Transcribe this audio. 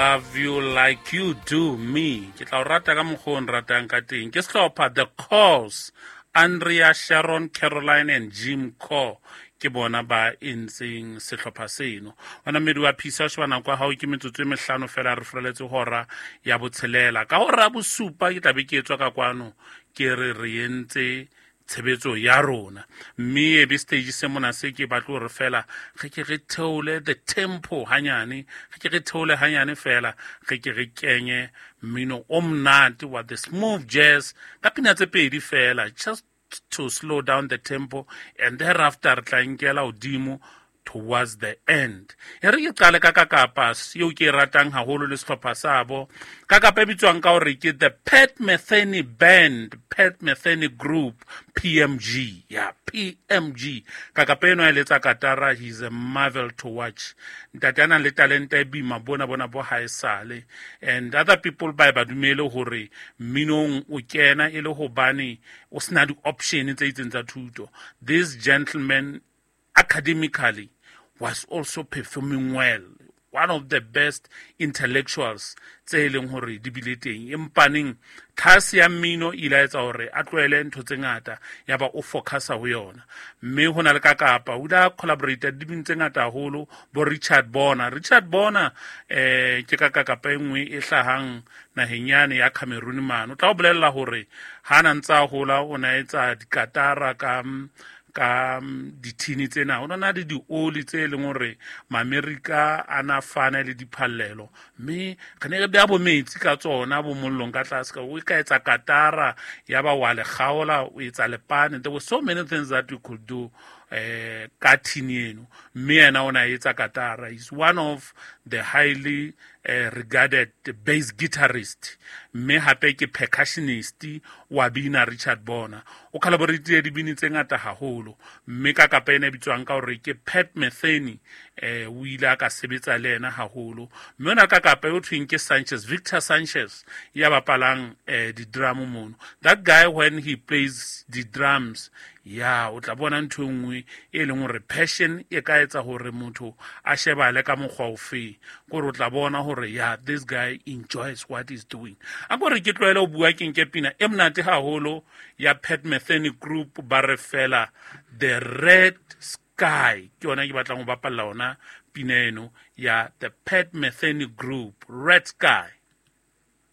Love you like you do me. Ke tla o rata ka mokgwa o nratang ka teng. Ke sehlopha The Cause, Andrea, Sharon, Caroline and Jim Core ke bona ba entseng sehlopha seno. Wena mmedi wa phisa o sheba nako ya hao ke metsotso e mehlano fela re furaletse hora ya botshelela. Ka hora ya bosupa ke tla be ke etswa ka kwano ke re re entse tshebetso ya rona, mme e be stage se mona se ke batle gore fela re ke re theole the tempo hanyane, re ke re theole hanyane fela, re ke re kenye mmino o monate wa the smooth jazz ka pina tse pedi fela, just to slow down the tempo, and thereafter re tla nkela hodimo towards the end. E re ke qale ka kakapa eo ke e ratang haholo le sehlopha sa bo kakapa e bitswang ka hore ke the Pat Metheny Band, Pat Metheny Group, PMG. Ya PMG kakapa eno a eletsa katara. He's a marvel to watch. Ntate a nang le talente e boima bona bona bo haesale, and other people ba e ba dumele hore mminong o kena e le hobane o sena di-option tse itseng tsa thuto. This gentleman academically was also performing well, one of the best intellectuals tse e leng hore di bile teng. Empaneng tlhase ya mmino e ile a etsa hore a tlohele ntho tse ngata, ya ba o focusa ho yona. Mme ho na le ka kapa o ile a collaborate dibini tse ngata haholo, bo Richard Bona. Richard Bona ke ka kakapa e nngwe e hlahang naheng yane ya Cameroon mane. O tla o bolella hore ha na ntse a hola o na etsa dikatara ka dithini tsena, o na le dioli tse leng hore Maamerika a na fana le diphallelo, mme re ne re beha bo metsi ka tsona bo mollong ka tlase, ka o ka etsa katara ya ba wa le kgaola o etsa lepane. There were so many things that you could do ka thini eno, mme yena o na etsa katara. He's one of the highly regarded bass guitarist, mme hape ke percussionist wa bina. Richard Bona o collaboratile dibini tse ngata haholo, mme ka kapa ena e bitswang ka hore ke Pat Metheny, o ile a ka sebetsa le yena haholo. Mme ona ka kapa eo thweng ke Sanchez, Victor Sanchez, ya bapalang di-drum mono. That guy, when he plays the drums, ya o tla bona ntho e nngwe e leng hore passion e ka etsa hore motho a shebale ka mokgwa ofe, kore o tla bona hore ya this guy enjoys what he's doing. A kore ke tlohele ho bua, ke nke pina e monate haholo ya Pat Metheny Group, ba re fela The Red Sky. Ke yona ke batlang ho bapalla ona pina eno ya the Pat Metheny Group, Red Sky.